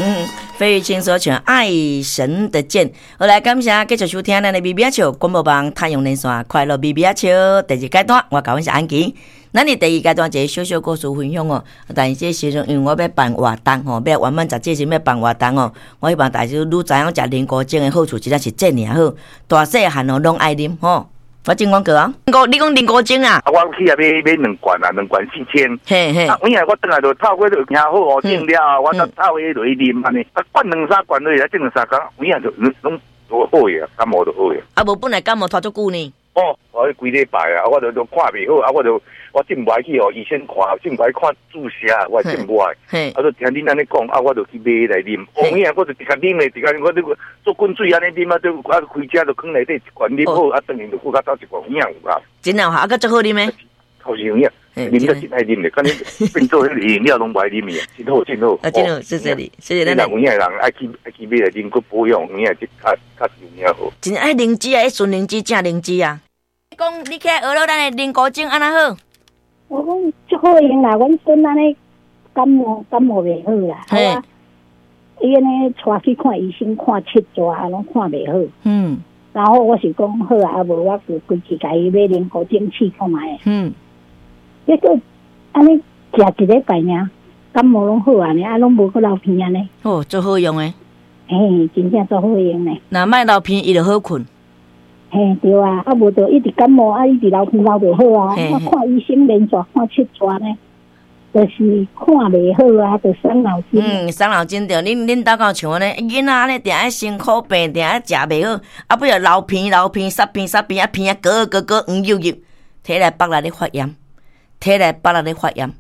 嗯，費玉清所唱《愛神的箭》。好來，感謝繼續收聽咱的微微仔笑廣播網太陽連線快樂微微仔笑第二階段，我佮阮是安琪。咱佇第二階段一個小小故事分享哦，但是這時陣因為我欲辦活動吼，欲圓滿十這時欲辦活動哦，我希望大家愈知影食靈菇精的好處，真正是遮爾好，大細漢哦攏愛啉吼。我進廣告啊，你講靈菇精啊？啊，我去啊買買兩罐啊，兩罐4000。嘿嘿。啊，有影我轉來就透過就聽好哦，整了後，我才透過落去啉按呢。啊，灌兩三罐落去，整兩三工，有影就攏好個，感冒就好個。啊，無本來感冒拖足久呢。哦，我幾禮拜啊，我就都看袂好，啊，我就我真無愛去予醫生看，真無愛看注射，我真無愛。啊，就聽恁按呢講，啊，我就去買來啉。哦，有影我就直接啉咧，直接我這個做滾水按呢啉啊，就啊開車就囥內底一罐啉好，啊，轉去就閣較倒一罐，有影有效。真有效，啊，閣足好啉的。確實有影，啉得真愛啉的，敢你變做彼個飲料攏無愛啉的，真好真好。啊，真好，謝謝你，謝謝咱。有影的人愛去愛去買來啉，閣保養，有影這較較有影好。真愛靈芝啊，純靈芝正靈芝啊。講你起來學了咱的靈菇精按怎好？我講足好用啦，阮孫按呢感冒感冒袂好啦，啊，伊按呢帶去看醫生，看七逝攏看袂好。然後我是講好啊，無我就規氣共伊買靈菇精試看覓。結果按呢食一禮拜爾，感冒攏好啊，爾啊攏無閣流鼻按呢。哦，足好用的。嘿，真正足好用的。若莫流鼻，伊就好睏。嘿，對啊，啊無就一直感冒，啊一直流鼻流袂好啊，我看醫生連續看七逝呢，就是看袂好啊，就傷腦筋。嗯，傷腦筋對，恁兜敢有像按呢？囡仔按呢定愛辛苦病，定愛食袂好，啊尾仔流鼻流鼻，捒鼻捒鼻，啊鼻啊割割割黃油油，體內腹內咧發炎，體內腹內咧發炎。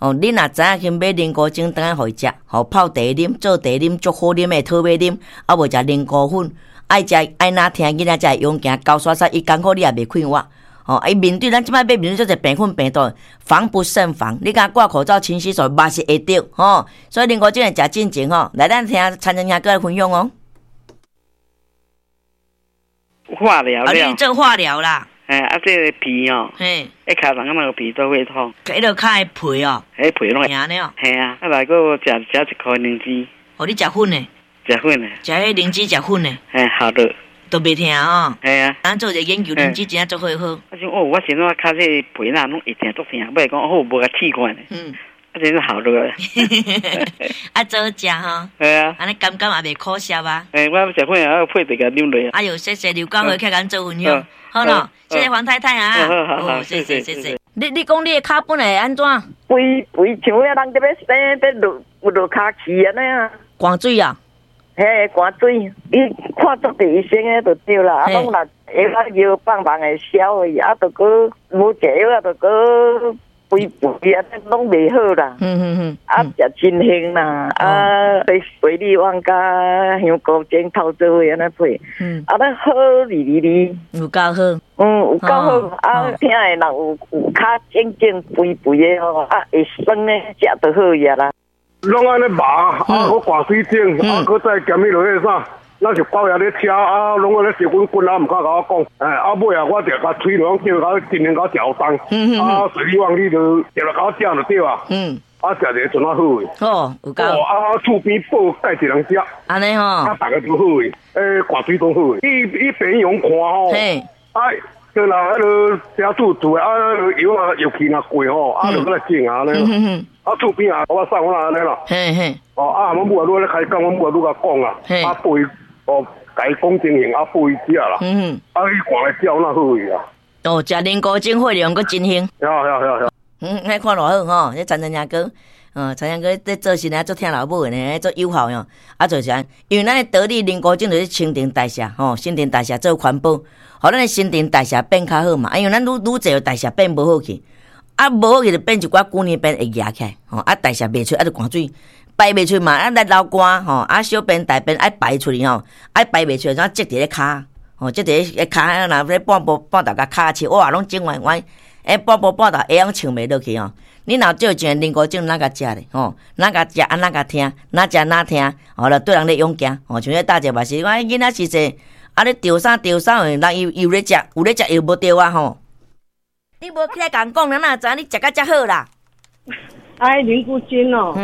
哦，恁若知影去買靈菇精，轉來予伊食，予泡茶啉，做茶啉，足好啉的討尾啉，啊無食靈菇粉。愛食愛哪疼囡仔才會勇行，高刷刷伊艱苦你也袂快活。吼，伊面對咱這擺欲面對遮濟病菌病毒，防不勝防。你敢掛口罩、勤洗手，嘛是會著吼。所以靈菇精會食進前吼，來咱聽陳仁兄閣來分享哦。化療啊，你做化療啦？哎，啊，這個鼻哦，一尻人那個鼻都會痛。彼个跤的皮哦，彼皮攏會疼呢。嘿啊，啊來閣食食一箍靈芝。哦，你食粉的？食粉的。食彼靈芝食粉的。嘿，好的。都袂疼哦。嘿啊。咱做一個研究，靈芝真正足好好。啊想哦，我先怎跤這個皮哪攏會疼足疼，尾講好無共試看呢。啊，真好落。啊，早食吼。嘿啊。按呢感覺也袂苦澀啊。嘿，我食粉啊，配茶共啉落。哎喲，謝謝劉光輝，起來共做分享。好咯，謝謝黃太太啊。好好好，謝謝謝謝。你講你的跤本來會按怎？肥肥像遐人佇欲生，欲落落跤去按呢啊。灌水啊？嘿，灌水，你看足濟醫生的就對啦。啊，攏若藥啊藥放放會消去，啊，就閣無食藥啊，就閣肥肥啊，攏袂好啦。啊，食真興啦，啊，配水蜜丸佮香菇精泡做伙按呢配。啊，咱好哩哩哩。有夠好。嗯，有夠好。啊，疼的人有有跤整整肥肥的吼，啊，會酸的食就好呀啦。攏按呢麻，啊，閣掛水腫，啊，閣再兼彼落彼啥，咱是包遐咧車，啊，攏按呢燒滾滾啊，毋敢共我講，哎，啊尾啊，我就共喙落叫共盡量共我食予重，啊，水蜜丸你就直來共我食就對啊，啊，食者陣仔好的。哦，有夠。哦，啊，厝邊報蓋一人食。按呢吼。啊，逐个都好的，欸，掛水都好的。伊病院看吼。啊，對啦，彼个寫住住的，啊，藥啊藥期若過吼，啊，就閣來種啊按呢。啊，厝邊啊，我送我按呢啦。哦，啊，阮母啊，愈咧開講，阮母啊愈共講啊。啊，報伊哦，共伊講情形，啊，報伊食啦。啊，伊看來食，哪好去啊？哦，食靈菇精血量閣真興。對對對對。嗯，彼看偌好吼，彼陳陳兄哥，陳兄哥咧做事呢，足疼老母的呢，足友好哟。啊，就是按呢，因為咱的得力靈菇精就是新陳代謝吼，新陳代謝做環保，予咱的新陳代謝變較好嘛。因為咱愈愈濟代謝變無好去，啊，無好去就變一寡舊年變會壓起來，吼，啊，代謝袂出，啊，就汗水排袂出嘛，啊，來流汗吼，啊，小便大便愛排出去吼，啊，排袂出，怎積佇咧跤，吼，積佇咧跤，若咧半步半頭共跤切，哇，攏整歪歪，欸，半步半頭鞋攏穿袂落去吼。你若照一个靈菇精，哪共食咧？吼，哪共食啊？哪共疼？哪食哪疼？吼，就對人咧勇行，吼，像彼大姐嘛是，我囡仔時陣，啊，咧著啥著啥，人伊有咧食，有咧食又無著啊吼。你無起來共講，人哪會知影你食甲遮好啦？哎，靈菇精哦。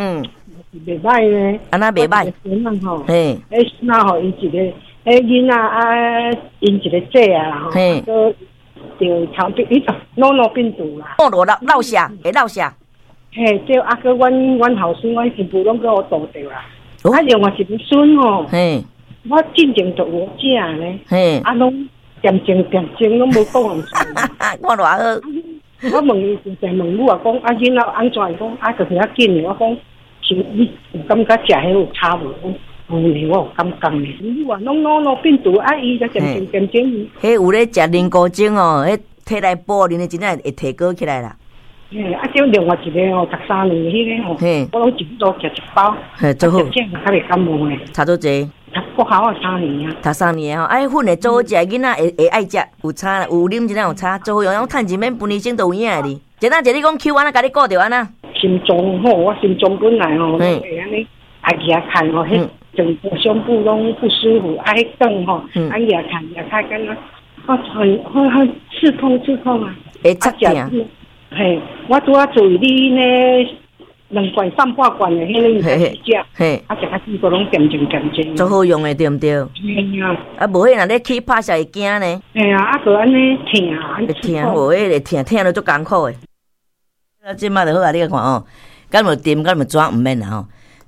袂歹呢。按怎袂歹？孙仔吼，嘿，彼孙仔吼，伊一个，彼囡仔啊，𪜶一个姐啊吼，阁著头病，伊脑脑病毒啦。哦，落落下，会落下。嘿，对，啊，阁阮后孙、阮新妇拢阁予度著啦。啊，另外一个孙吼，我进前就有食呢，啊，拢恬静恬静，拢无讲人。我偌好。我问伊，就问母啊，讲啊，囡仔按怎？伊讲啊，就是较紧的。我讲是你有感觉食彼有差无？讲有呢，我有感觉呢。母啊，拢脑脑病毒啊，伊才恬静恬静。彼有咧食灵菇精哦，彼提来补，恁真正会提高起来啦。嘿，啊，这另外一个吼，读三年彼个吼，我拢一路食一包，嘿，做好，这较袂感冒呢。读多济？读国校啊，三年啊。读三年吼，啊，粉会做好食，囡仔会爱食，有差啦，有啉真正有差，做好用，趁钱免分医生都有影的哩。一阵一你讲 Q 按怎，共你顾著按怎？心脏吼，我心脏本来吼会按呢，啊举开吼，彼整个胸部拢不舒服，啊彼顿吼，啊举开举开敢若，啊很很很刺痛刺痛啊，会刺痛。嘿，我拄仔注意你呢，两罐三半罐的，彼个食，啊食较久阁拢恬静恬静。足好用的对毋对？嘿啊。啊，无彼若咧起拍摄会惊呢。嘿啊，啊阁按呢疼，会疼，无彼会疼，疼了足艰苦的。啊，这摆就好啊，你看哦，敢有甜，敢有怎毋免啦吼。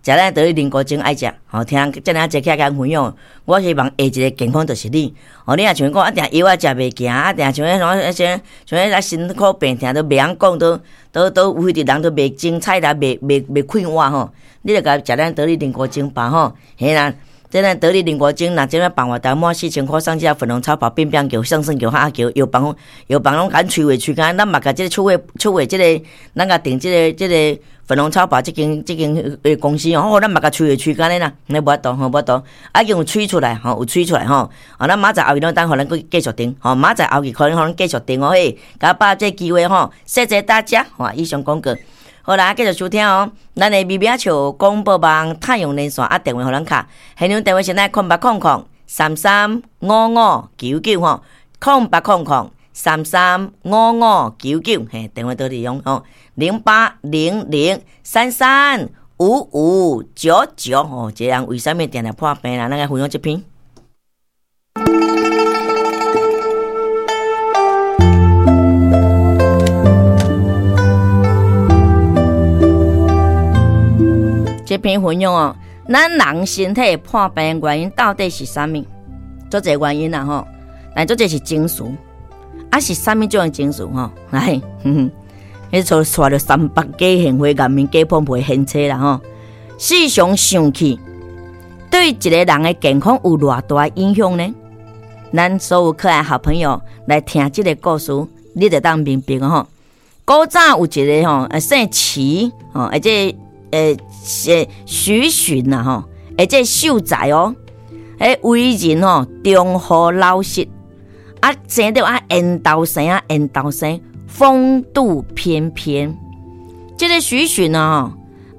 食咱得灵菇精爱食，吼，听遮尔济起来共分享，我希望下一个健康就是你。哦，你若像讲啊，定药仔食袂行，啊，定像彼种像像彼个辛苦病疼都袂晓讲，都都都有的人都袂精彩啦，袂袂袂快活吼。你著共食咱得力灵菇精吧吼，嘿啦，这咱得力灵菇精，若这摆办法台满4000箍送这粉红超跑变变球、上升球、哈球，药房药房拢共催话催干，咱嘛共这个出货出货这个，咱共订这个。粉红超跑这间公司哦，咱嘛共催话催干咧啦，你无法度吼，无法度，啊已经有催出来吼，有催出来吼，啊咱明仔载后日拢等予咱阁继续订吼，明仔载后日可能予咱继续订哦嘿，共把这个机会吼，谢谢大家吼，以上广告，好啦，继续收听哦，咱的微微笑广播网太阳连线啊，电话予咱敲，现场电话是咱0800335599吼，0800335599，嘿，电话都利用吼，0800335599吼，这人为啥物定定破病啦？咱来分享这篇。这篇分享哦，咱人身体破病原因到底是啥物？足济原因啦吼，但足济是情绪。啊是啥物种的情绪吼？来，彼阵带著300家现花、颜面假碰皮现车啦吼。时常生气，对一个人的健康有偌大影响呢？咱所有可爱好朋友来听这个故事，你就当明白吼。古早有一个吼，姓齐吼，而且许询啦吼，而且秀才哦，为人吼忠厚老实。啊，生得啊，缘投生啊，缘投生，风度翩翩。这个许询啊，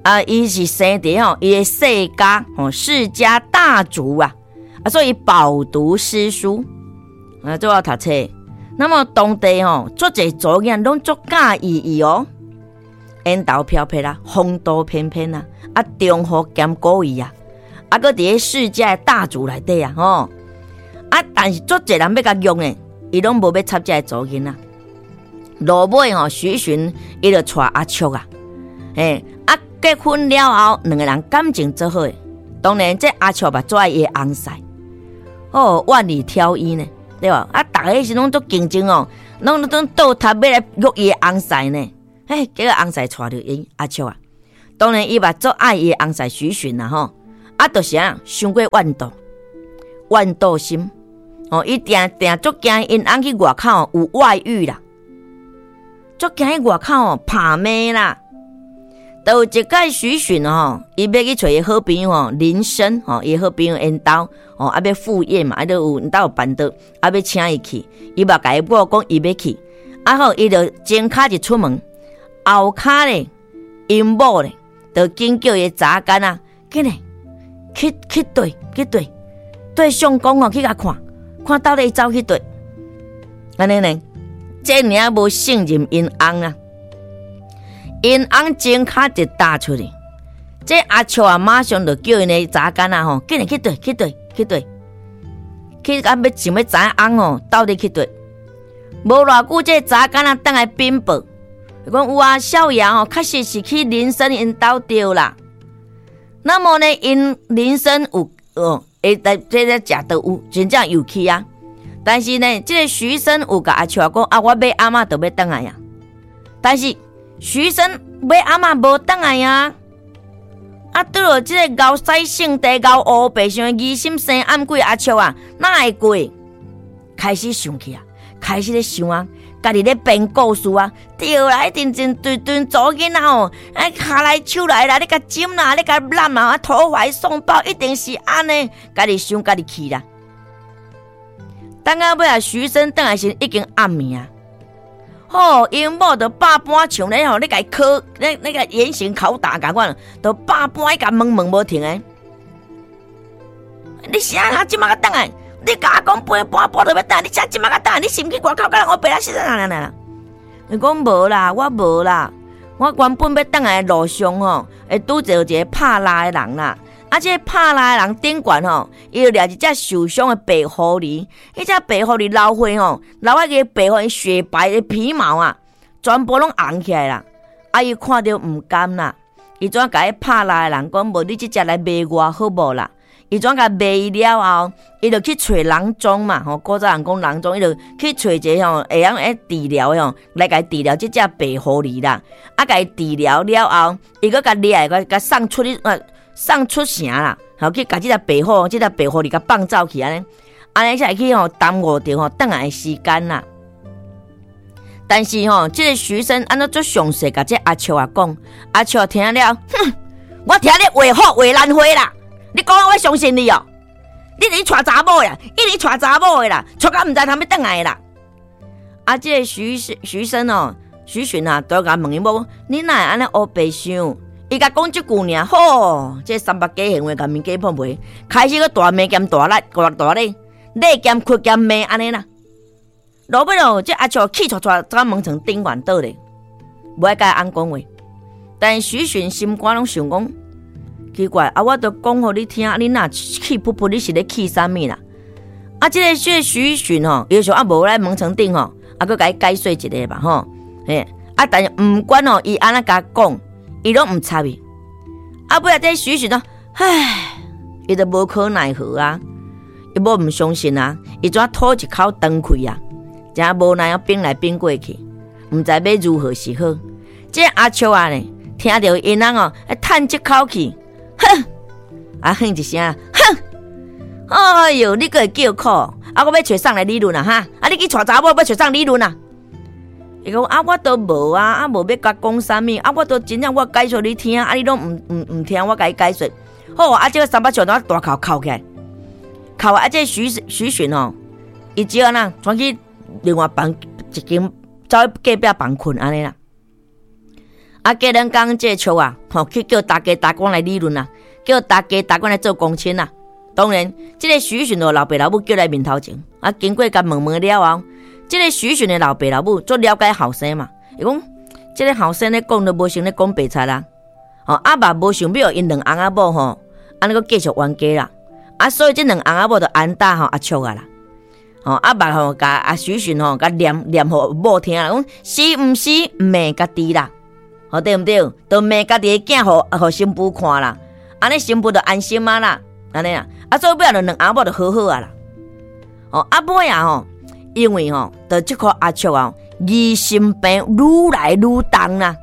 啊，伊是生伫吼，伊的世家吼，世家大族啊，啊，所以饱读诗书，啊，做好读册。那么当地吼，足济查某囝拢足佮意伊哦，缘投飘飘啦，风度翩翩啊，啊，忠厚兼古意啊，啊，阁伫咧世家的大族内底啊，吼。啊！但是足济人欲共用的，伊拢无欲插这个查某囡仔。落尾吼，许询伊就娶阿叔啊，嘿，啊，结婚了后，两个人感情做好的。当然，这阿叔嘛做爱伊的翁婿，哦，万里挑一呢，对吧？啊，逐个时拢足竞争哦，拢倒塔欲来约伊的翁婿呢。嘿，结果翁婿娶著𪜶阿叔啊。当然，伊嘛足爱伊的翁婿许询啦吼。啊，就是啊，伤过怨妒，怨妒心。哦，伊定定足惊𪜶翁去外口有外遇啦，足惊去外口拍骂啦。就有一摆许询吼，伊欲去揣伊好朋友吼林深吼，伊好朋友𪜶兜吼，啊欲赴宴嘛，啊都有𪜶兜有办桌，啊欲请伊去，伊嘛共伊某讲伊欲去，啊好，伊就前跤一出门，后跤咧，𪜶某咧，就紧叫伊查囡仔，紧来去去对去对对相公哦，去共看。看到底伊走去佗，按呢呢，这尔无信任𪜶翁啊，𪜶翁前跤一踏出去，這阿笑啊，馬上就叫𪜶的查囡仔吼，緊來去綴，去綴，去綴，去到欲想欲知影翁吼到底去佗。無偌久，這查囡仔轉來稟報，講有啊，少爺吼，確實是去林森𪜶兜著啦。那麼呢，𪜶林森有哦，會來這個食都有，真正有去啊。但是呢，這個徐生有共阿笑講啊，我買阿嬤就欲轉來啊。但是徐生買阿嬤無轉來啊。啊，對了，這個𠢕使性地𠢕烏白想疑心生暗鬼阿笑啊，哪會過？開始想起啊，開始咧想啊，家己咧編故事啊，對啦，一定真對對查某囡仔吼，哎，跤來手來啦，你共針啦，你共攬啊，投懷送抱，一定是按呢，家己想家己去啦。等到尾啊，徐生轉來時已經暗暝啊。吼，𪜶某就百般像咧吼，咧共伊考，咧咧共嚴刑拷打共款，就百般去共問問無停的。你啥啊？這馬才轉來？你共我講陪半晡就欲轉來，你啥這馬才轉來？你是毋去外口佮人烏白來死啦啦啦？伊講無啦，我無啦，我原本欲轉來的路上吼，會拄著一個拍獵的人啦。啊！這個拍獵的人頂懸吼，伊就掠一隻受傷的白狐狸。彼隻白狐狸流血吼，流啊個白狐狸雪白的皮毛啊，全部攏紅起來啦。啊！伊看著毋甘啦，伊怎共彼拍獵的人講？無你這隻來賣我好無啦？伊怎共賣伊了後，伊就去揣郎中嘛吼。古早人講郎中，伊就去揣一个吼會曉會治療的吼，來共伊治療這隻白狐狸啦。啊，共伊治療了後，伊閣共掠來，共送出去啊。送出城啦，吼去共這隻白虎，這隻白狐狸共放走去按呢，按呢才會去吼耽誤著吼轉來的時間啦。但是吼，這個徐生按怎足詳細共這阿笑仔講，阿笑聽了，哼，我聽你話好話難話啦，你講我相信你哦，你是娶查某的啦，一直娶查某的啦，娶到毋知通欲轉來啦。啊，這個徐徐生哦，徐尋啊，都共問伊某，你哪會按呢烏白想？伊共講這句爾，吼，這三百假閒話，共面假碰皮，開始閣大罵兼大咧，大大咧，咧兼哭兼罵按呢啦。落尾咯，這阿笑氣掣掣，走門床頂懸倒咧，無愛共伊翁講話。但是許詢心肝攏想講，奇怪，啊，我都講予你聽，你若氣噗噗，你是咧氣啥物啦？啊，這個這許詢吼，伊就想啊，無來門床頂吼，啊，閣共伊解說一下吧，吼，嘿，啊，但是毋管吼，伊按怎共講。伊攏毋插伊，啊尾仔這許詢咯，唉，伊就無可奈何啊，伊某毋相信啊，伊怎吐一口長氣啊，誠無奈啊，反來反過去，毋知欲如何是好。這阿笑仔呢，聽著𪜶翁哦，嘆這口氣，哼，啊哼一聲，哼，哎喲，你閣會叫苦，啊我欲揣誰來理論啊哈，啊你去娶查某欲揣誰理論啊？伊講啊，我都無啊，啊無欲共講啥物，啊我都真正我解說你聽，啊你攏毋毋毋聽我共你解說。好，啊這個三八笑大哭哭起來，哭啊！這個許許詢吼，伊只按怎轉去另外房一間走去隔壁房睏按呢啦。啊過兩工這個笑啊，吼去叫大家大官來理論啊，叫大家大官來做公親啊。當然，這個許詢就老爸老母叫來面頭前，啊經過共問問了後。這個許詢的老爸老母足了解後生嘛，伊講這個後生咧講都無像咧講白賊啦，吼啊嘛無想欲予𪜶兩翁仔某吼，按呢閣繼續冤家啦，啊所以這兩翁仔某就安打吼阿笑仔啦，吼啊嘛吼共阿許詢吼共念念予某聽啦，講是毋是罵家己啦，吼對毋對？就罵家己的囝予予新婦看啦，按呢新婦就安心啊啦，按呢啊，啊所以尾仔就兩翁仔某就和好啊啦，吼啊尾仔吼。因為吼，就這顆阿笑啊，疑心病愈來愈重啦，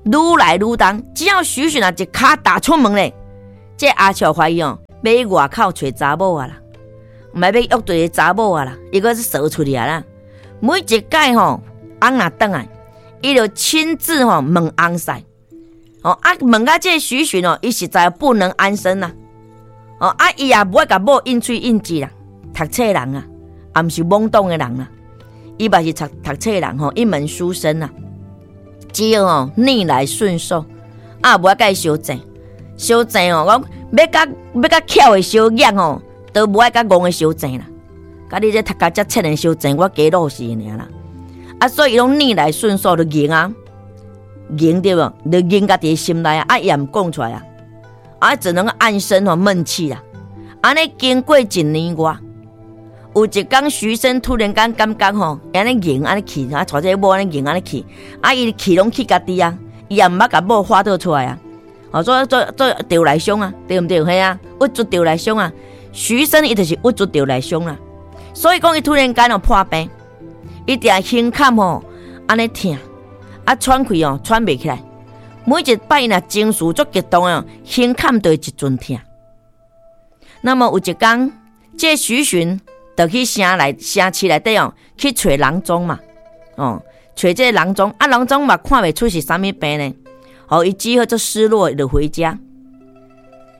愈來愈重。只要許詢啊一跤踏出門咧，這阿笑懷疑哦，欲去外口揣查某啊啦，毋係欲約對個查某啊啦，伊閣是趖出去啊啦。每一擺吼，翁若轉來，伊就親自吼問翁婿，哦啊問到這許詢哦，伊實在不能安生啦。哦啊，伊也無愛共某應喙應舌啦，讀冊人啊。也毋是懵懂的人啦，伊嘛是讀讀冊人吼，一門書生啊，只要吼逆來順受，啊無愛共伊相爭，相爭吼，講欲佮欲佮巧的相掖吼，都無愛佮戇的相爭啦。佮你這讀甲遮淺的相爭，我加落死爾啦。啊，所以伊攏逆來順受就認啊，凝對無？就凝家己心內啊，啊伊也毋講出來啊，啊只能暗生吼悶氣啊。按呢經過一年外，有一工徐生突然間感覺吼，按呢凝按呢氣，啊，帶這個某按呢凝按呢氣，啊伊氣攏去家己啊，伊也毋捌共某發倒出來啊，哦，做做做著內傷啊，對毋對？嘿啊，鬱卒著內傷啊，徐生伊就是鬱卒著內傷啦，所以講伊突然間哦破病，伊定胸坎吼按呢疼，啊喘氣哦喘袂起來，每一擺伊若情緒足激動哦，胸坎就會一陣疼。那麼有一工，這許詢就去城內城市內底哦，去揣郎中嘛，哦，揣這個郎中，啊郎中嘛看袂出是啥物病呢，哦，伊只好足失落就回家。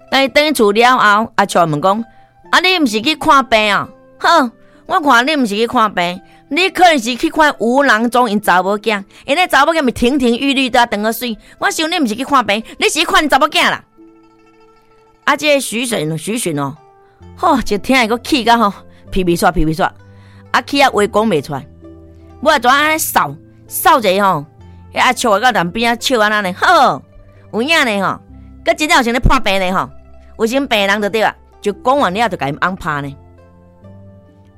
但伊轉厝了後，阿笑問講：啊，你毋是去看病啊？好，我看你毋是去看病，你可能是去看吳郎中𪜶查某囝，𪜶那查某囝咪亭亭玉立的，長個媠。我想你毋是去看病，你是去看𪜶查某囝啦。啊！這個許詢，許詢哦，吼，一聽伊閣氣甲吼，皮皮煞皮皮煞，啊氣啊話講袂出來，尾仔怎按呢掃掃一下吼，彼阿笑啊到南邊仔笑按呢呢，好有影呢吼，閣真正有啥咧破病呢吼，有啥病人就對啊，就講完了就共𪜶翁拍呢，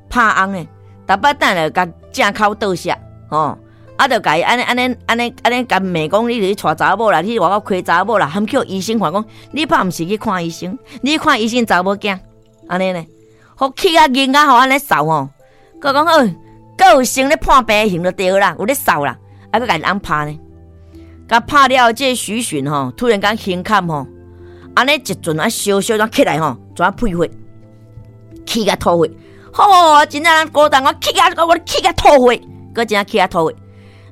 拍翁呢，逐擺等下共正口倒瀉吼。啊，就共伊按呢按呢按呢按呢共罵講，你去娶查某啦，你去外口開查某啦，含叫醫生看講，你怕毋是去看醫生，你看醫生查某囝，按呢呢，予氣啊囡仔吼按呢掃吼，閣講好，閣有生咧破病型就對啦，有咧掃啦，啊，閣共𪜶翁拍呢，共拍了這個許詢吼，突然間胸坎吼，按呢一陣啊燒燒怎起來吼，怎噴血，氣甲吐血，吼，真正人孤單，我氣甲我氣甲吐血，閣真正氣甲吐血。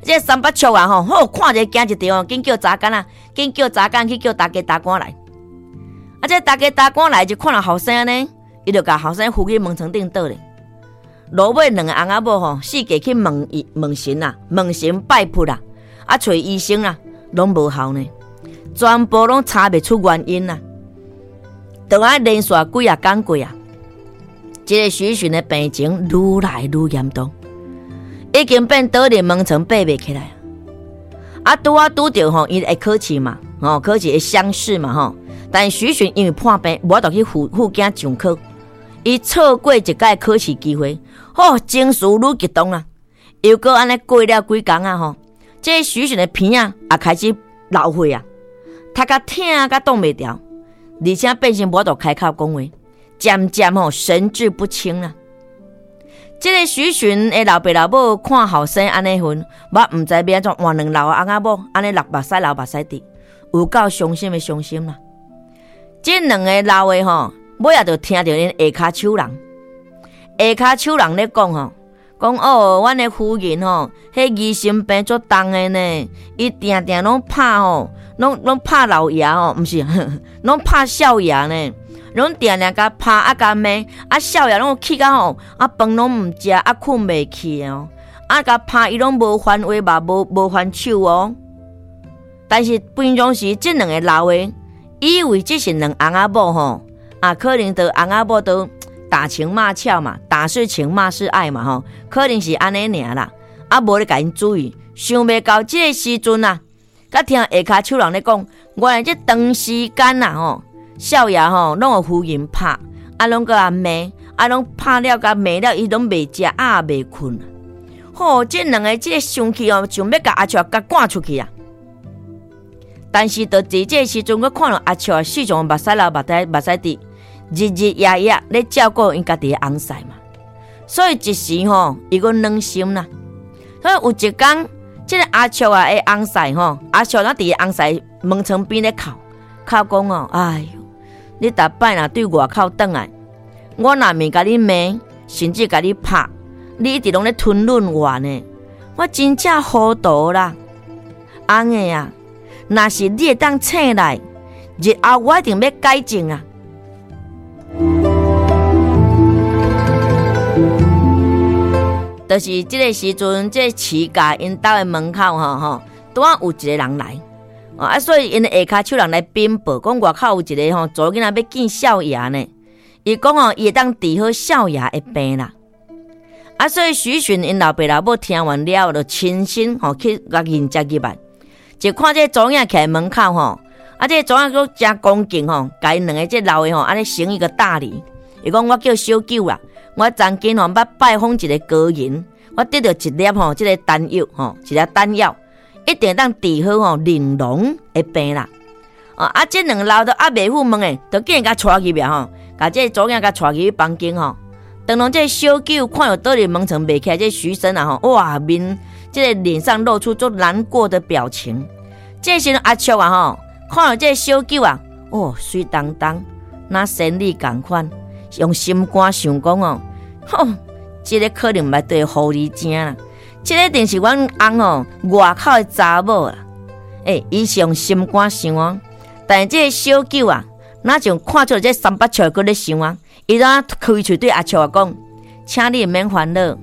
這三八笑啊吼，好看者驚一條，緊叫查囡仔，緊叫查囡去叫大家大官來。啊，這大家大官來就看到後生呢，伊就共後生扶去門床頂倒咧。落尾兩个翁仔某吼，四界去問伊問神啊，問神拜佛啊，啊揣醫生啊，攏無效呢，全部攏查袂出原因啊。就按連續幾仔工過啊，這個許詢的病情愈來愈嚴重。已經變倒佇門床爬袂起來，啊，拄啊拄著吼，伊會考試嘛，吼，考試會鄉試嘛，吼。但是許詢因為破病，無法度去赴赴京上考，伊錯過一擺考試機會，吼，情緒愈激動啊，又閣按呢過了幾工啊，吼，這許詢的鼻仔也開始流血啊，頭殼疼甲擋袂牢，而且變成無法度開口講話，漸漸吼神志不清啊。這個許詢的老爸老母看後生按呢份，我毋知欲按怎換兩老翁仔某，按呢流目屎流目屎滴，有夠傷心的傷心啦。這兩个老的吼，尾仔就聽著𪜶下跤手人，下跤手人咧講吼，講哦，阮的夫人吼，彼疑心病足重的呢，伊定定攏拍吼，攏攏拍老爺吼，毋是，攏拍少爺呢。攏定定共拍啊，共罵啊，少爺攏氣甲吼，啊飯攏毋食，啊睏袂去哦，啊共拍伊攏無還話嘛，無無還手哦。但是平常時這兩個老的，以為這是兩翁仔某吼，啊可能都翁仔某都打情罵俏嘛，打是情罵是愛嘛吼，可能是按呢爾啦，啊無咧共𪜶注意，想袂到這個時陣啊，佮聽下跤手人咧講，原來這長時間啊吼。少爺吼，攏予夫人拍，啊，攏閣共罵，啊，攏拍了共罵了，伊攏袂食，啊，袂睏。吼，這兩个這个生氣哦，想欲共阿笑共趕出去啊！但是，就佇這个時陣，閣看著阿笑時常目屎流目屎目屎滴，日日夜夜咧照顧𪜶家己的翁婿嘛。所以一時吼，伊閣軟心啦。所以有一工，這个阿笑啊的翁婿吼，阿笑若佇翁婿門窗邊咧哭，哭講哦，哎喲！你逐擺若對外口轉來，我若毋共你罵，甚至共你拍，你一直攏咧吞忍我呢？我真正糊塗啦，翁的啊！若是你會當醒來，日後我一定欲改正啊！就是這个時陣，這个徐家𪜶兜的門口吼吼，拄仔有一个人來。啊，所以𪜶下跤手人來稟報，講外口有一个吼查某囡仔欲見少爺呢。伊講吼，伊會當治好少爺的病啦。啊，所以許詢𪜶老爸老母聽完了後，就親身吼去共迎接入來。就看這個查某囝徛門口吼，啊，這個查某囝閣誠恭敬吼，共𪜶兩个這老的吼，按呢行一個大禮。伊講我叫小九啦，我曾經吼捌拜訪一个高人，我得著一粒吼，這个丹藥吼，一粒丹藥，一定會當治好吼玲瑯的病啦。哦，啊，這兩个老的猶未赴問的，就竟然共帶入來吼，共這个查某囝共帶入去房間吼。當當這个小九看著倒佇門床袂起來，這个徐生啊吼，哇面這个臉上露出足難過的表情。這時陣阿叔啊吼，看著這个小九啊，哦，媠當當，若仙女仝款，用心肝想講哦，吼，這个可能嘛對狐狸精啦，這个一定是阮翁哦外口的查某啦。欸，伊是用心肝想哦，但是這个小九啊，若像看出來這三八笑閣咧想啊，伊就開喙對阿叔啊講，請你毋免煩惱，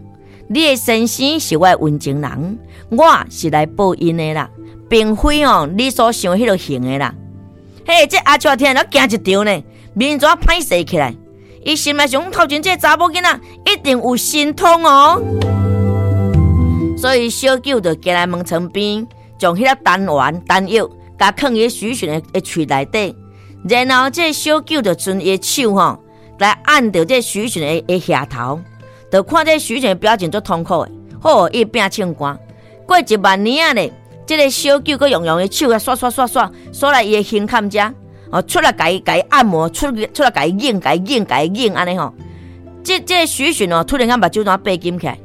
你的先生是我的溫情人，我是來報恩的啦，並非哦你所想彼个型的啦。嘿，這阿叔聽了驚一場呢，面怎歹勢起來？伊心內想，頭前這個查某囡仔一定有神通哦。所以小九就行來門床邊，將彼粒丹丸丹藥，共囥佇許詢的喙內底，然後這個小九就伸伊的手吼，來按著這個許詢的額頭，就看這個許詢的表情足痛苦的，好，伊變唱歌。過一萬年仔咧，這个小九閣用伊的手啊，刷刷刷刷刷來伊的胸坎遮，哦，出來共伊按摩，出來共伊擰共伊擰共伊擰按呢吼。這个許詢哦，突然間目睭怎閉緊起來，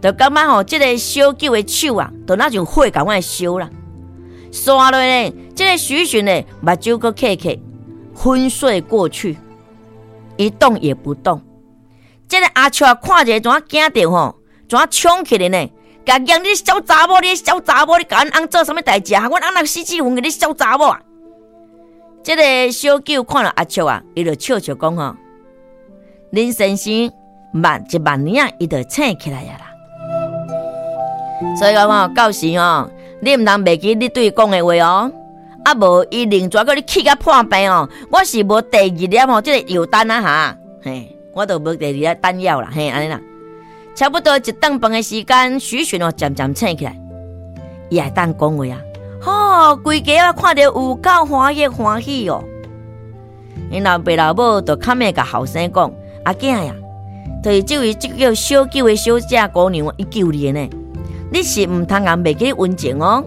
就感覺吼，這个小九的手啊，就若像火仝款燒啦。刷落咧，這个許詢咧，目睭閣瞌瞌，昏睡過去，一動也不動。這个阿笑看者怎驚著吼，怎衝起來呢？共講你小查某，你小查某，你共阮翁做啥物代誌啊？阮翁若死死魂，你小查某啊！這个小九看著阿笑啊，伊就笑笑講吼，恁先生慢一萬年啊，伊就醒起來啊啦。所以講吼，到時吼，你毋通袂記你對伊講的話哦。啊無伊另轉閣你氣甲破病哦，我是無第二粒吼，這个藥單啊哈，嘿，我都無第二粒丹藥啦，嘿，按呢啦。差不多一頓飯的時間，許詢哦漸漸醒起來，伊會當講話啊，吼，規家我看著有夠歡喜歡喜哦。𪜶老爸老母就較尾共後生講，阿囝呀，就是這位這叫小九的小姐姑娘，伊救你的呢，你是毋通共袂記溫情哦。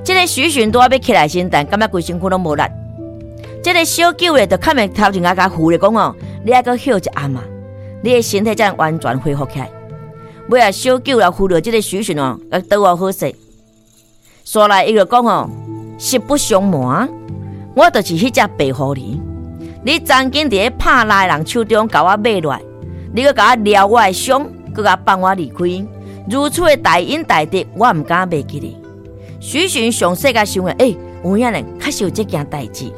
這个許詢拄仔欲起來時，但感覺規身軀攏無力。這个小九咧，就較尾頭前共扶咧講哦，你愛閣歇一暗啊，你的身體才能完全恢復起來。尾仔小九來扶著這个許詢哦，來倒我好勢。煞來伊就講哦，實不相瞞，我就是彼隻白狐狸。你曾經佇咧拍獵的人手中共我買落來，你閣共我療我的傷，閣共放我離開，如此的大恩大德，我毋敢袂記你。許詢詳細共想欸，有影呢，確實有這件代誌。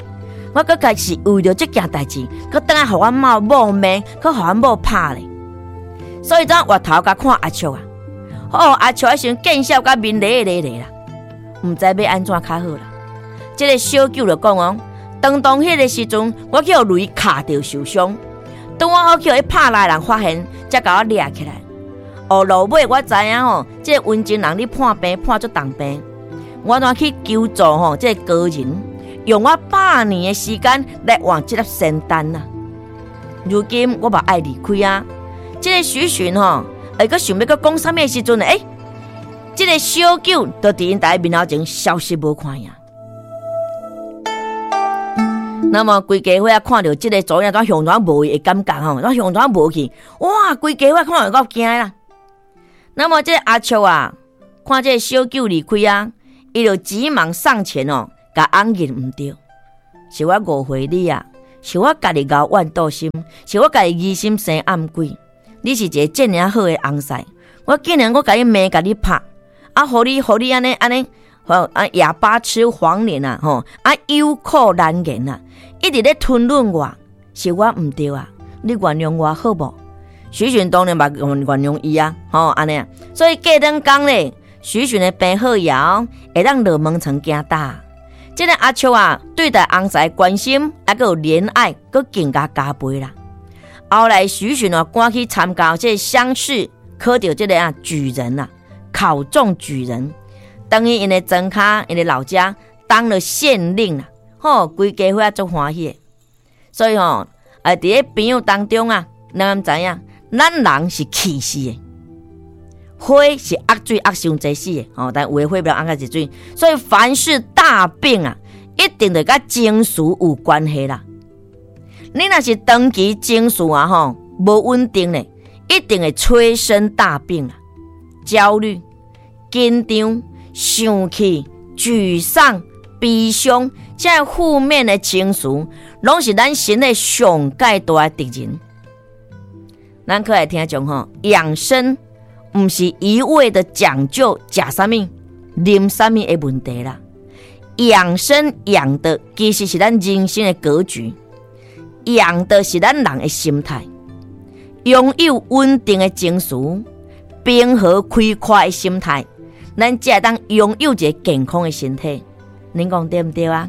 我閣開始為著這件代誌，閣轉來予阮某某罵，閣予阮某拍咧。所以怎回頭共看阿笑啊？哦，阿笑彼時陣見笑甲面咧咧咧啦，毋知欲按怎較好啦。這个小九就講哦，當當彼個時陣，我去予雷敲著受傷，當我好去予彼拍獵的人發現，才共我掠起來。哦，落尾我知影吼，這个溫情人你破病破足重病。我怎去求助吼？這个高人用我100年的時間來換這粒仙丹啊！如今我嘛愛離開啊！這个許詢吼，會閣想欲閣講啥物的時陣呢？欸，這个小九就佇𪜶大家面頭前消失無看影。那麼規家伙仔看著這个查某囝怎向怎無去的感覺吼，怎向怎無去？哇！規家伙看著夠驚啦！那麼這个阿笑啊，看這个小九離開啊。伊就急忙上前哦，共翁認毋對，是我誤會你啊，是我家己敖怨妒心，是我家己疑心生暗鬼。你是一个這爾好的翁婿，我竟然閣共你罵，共你拍，啊，予你按呢按呢，啊啞巴吃黃連啊，吼，啊有苦難言啊，一直咧吞忍我，是我毋對啊，你原諒我好無？許詢當然嘛原諒伊啊，吼，按呢啊，所以過兩工咧。許詢的病好以後，會當落門床行搭。這个阿笑啊，對待翁婿關心，猶閣有憐愛，閣更加加倍啦。後來許詢哦，趕去參加這个鄉試，考著這个啊舉人啊，考中舉人。轉去𪜶的莊跤，𪜶的老家當了縣令啦，吼，規家伙仔足歡喜的。所以吼，佇咧朋友當中啊，咱敢知影，咱人是氣死的，火是壓水壓傷濟死的，吼，但有的火袂壓較濟水，所以凡是大病啊，一定著佮情緒有關係啦。你若是長期情緒啊吼無穩定咧，一定會催生大病啦，焦慮、緊張、生氣、沮喪、悲傷，這負面的情緒，攏是咱身體上蓋大的敵人。咱閣來聽眾吼，養生毋是一味的講究食啥物、啉啥物的問題啦。養生養的其實是咱人生的格局，養的是咱人的心態，擁有穩定的情緒、平和開闊的心態，咱才會當擁有一个健康的身體。恁講對毋對啊？